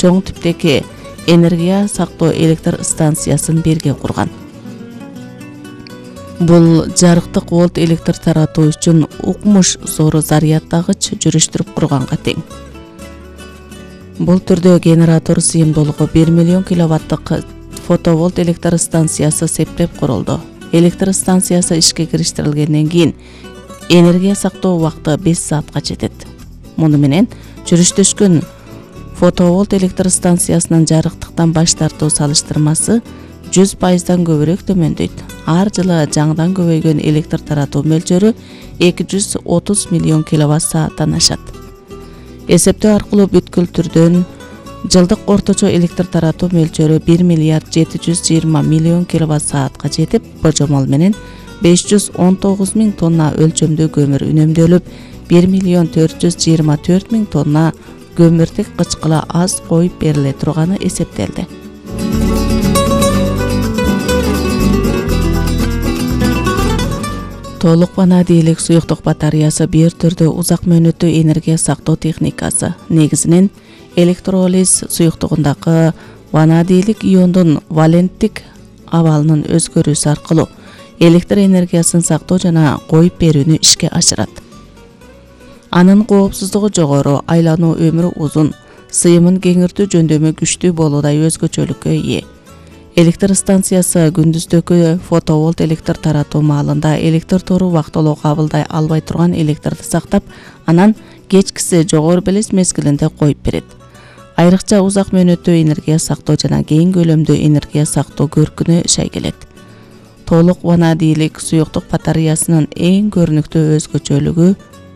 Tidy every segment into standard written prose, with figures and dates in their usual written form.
чоң типтеги энергия сактоо электр станциясын бирге курган. Бул жарыктык волт электр таратуу үчүн укмуш зор зарядтагыч жүрүштүрүп курганга тең. Бул түрдө генератор сыйымдуулугу 1 миллион киловаттык фотоволт электр станциясы септеп курулду. Электр станциясы ишке кириштирилгенден кийин энергия сактоо убакыты 5 саатка жетет. Муну менен жүрүштөшкөн фотоволт электр станциясынын жарыктыктан баш тартуу салыштырмасы 100% көбүрөөк төмөндөйт. Ар жылы жаңыдан көбөйгөн электр таратуу мөлчөрү 230 миллион киловатт сааттан ашат. Эсептөө аркылуу бүткүл түрдөн жылдык орточо электр таратуу мөлчөрү 1 миллиард 720 миллион киловатт саатка жетип, божомол менен 519 миң тонна өлчөмдүү көмүр үнөмдөлүп, 1 миллион 424 миң тонна көмүрдүк кычкыла аз коюп бериле турганы эсептелди. Толук ванадийлик суюктук батареясы бир түрдүү узак мөөнөттүү энергия сактоо техникасы. Негизинен электролиз суюктугундагы ванадийлик иондун валенттик абалынын өзгөрүүсү аркылуу электр энергиясын сактоо жана коюп берүүнү ишке ашырат. Анын коопсуздугу жогору, айлануу өмүрү узун, сыйымын кеңиртүү жөндөмү күчтүү болуудай өзгөчөлүккө ээ. Электр станциясы күндүздөгү фотоволт электр таратуу маалында электр тору убактылуу кабылдай албай турган электрди сактап, анан кечкиси жогору белес мезгилинде коюп берет. Айрыкча узак мөөнөттүү энергия сактоо жана кең көлөмдүү энергия сактоо көркүнө шайгелет. Толук ванадийлик суюктук батареясынын эң көрүнүктүү өзгөчөлүгү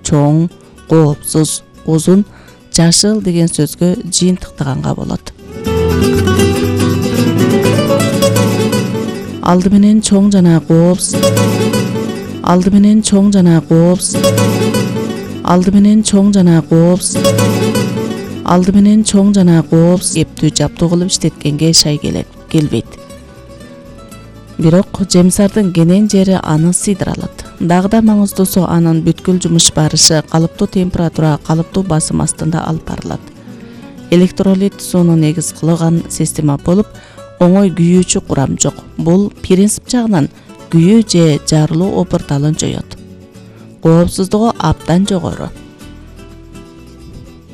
чоң, коопсуз, узун, жашыл деген сөзгө жыйынтыктаганга болот. Алдымен чоң жана коопсуз эптүү жаптуу кылып иштеткенге келбейт. Бирок жемсардын кенен жери аны сыйдыра алат. Дагы да маңыздуусу анын бүткүл жумуш барышы калыптуу температура, калыптуу басым астында алып барылат. Электролит сууну негиз кылган система болуп, оңой күйүүчү курам жок. Бул принцип жагынан күйүү же жарылуу опурталын жоёт. Коопсуздугу абдан жогору.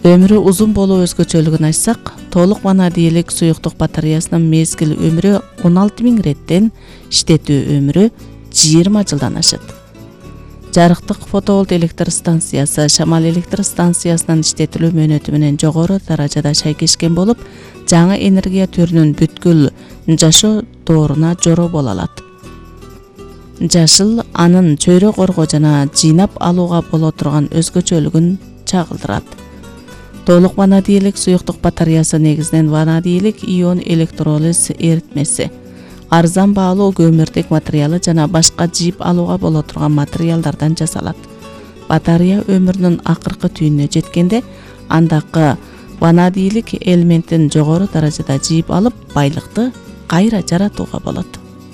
Өмүрү узун болуу өзгөчөлүгүн айтсак, толук ванадийлик суюктук батареясынын мезгил өмүрү 16 000 реттен, иштетүү өмүрү 20 жылдан ашат. Жарыктык фотоволт электр станциясы шамал электр станциясынын иштетилүү мөөнөтү менен жогору даражада шайкешкен болуп, жаңы энергия түрүнүн бүткүл жашоо дооруна жоро боло алат. Жашыл анын чөйрө коргоо жана жыйнап алууга боло турган өзгөчөлүгүн чагылдырат. Толук ванадийлик суюктук батареясы негизинен ванадийлик ион электролиз эритмеси, арзан баалуу көмүрдүк материалы жана башка жыйып алууга боло турган материалдардан жасалат. Батарея өмүрүнүн акыркы түйүнүнө жеткенде, андагы ванадийлик элементин жогору даражада жыйып алып, байлыкты кайра жаратууга болот.